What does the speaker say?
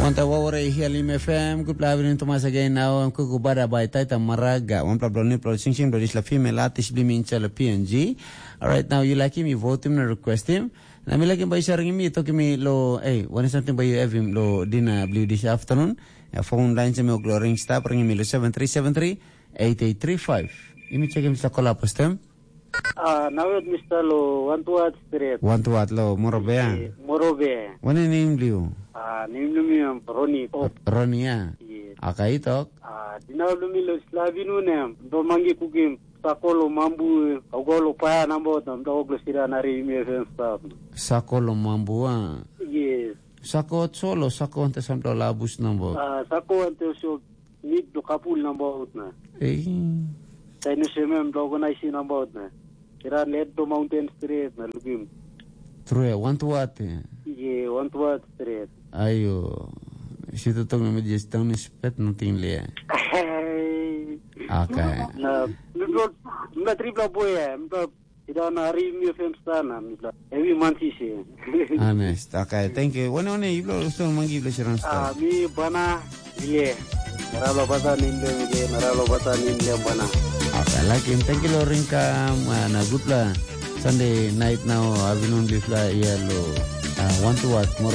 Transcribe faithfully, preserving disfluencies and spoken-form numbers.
Anta wawara i hialim F M, good loving Thomas again now, I'm kuku bada by Taita Maraga, one plap bloni plot sing sing, bloni sla female artist blim in chala P N G. Alright, now you like him, you vote him, na request him. Na mi like him by sharing me, talking me lo, hey, what is something by you have him lo dinner blue this afternoon? A phone line sa me oglo ring stop, ring me lo seven three seven three eight eight three five. Let me check him sa call up postem. Ah, nawet Mister Lo, one to what straight. One to what lo, Morobea. Eh, Morobe. What a name do you? Ah, name do me um, Ronnie. Oh, Ronnie, yeah. Yes. Akai talk. Ah, dina do me lo slavinu nem. Do mangi kukim. Sakolo mambu, ogolo paya nambo tam do oglo sira nari mi F M staff. Sakolo mambu, ah. Yes. Sako solo, sako ante sam do labus nambo. Ah, sako ante so nit do kapul nambo out na. Eh. Tainu semem do organize nambo out na. Kira let do mountain straight na lukim. True, want to what? Eh? Ye, want to what straight. Ayo, si tu tong na medis tong ni spet nothing le. Hey. Okay. Na, mi blo, mi trip la boy, mi blo, ida na ri mi fem sana, mi blo. Every month is here. Honest. Okay, thank you. One one, you blo, so mangi blo siran Ah, star. Mi bana, ile. Naralo bata nimle, ile. Naralo bata nimle bana. Okay, like him. Thank you, lo ringka, na good la. Sunday night now, afternoon bifla ia lo. Uh, want to what? More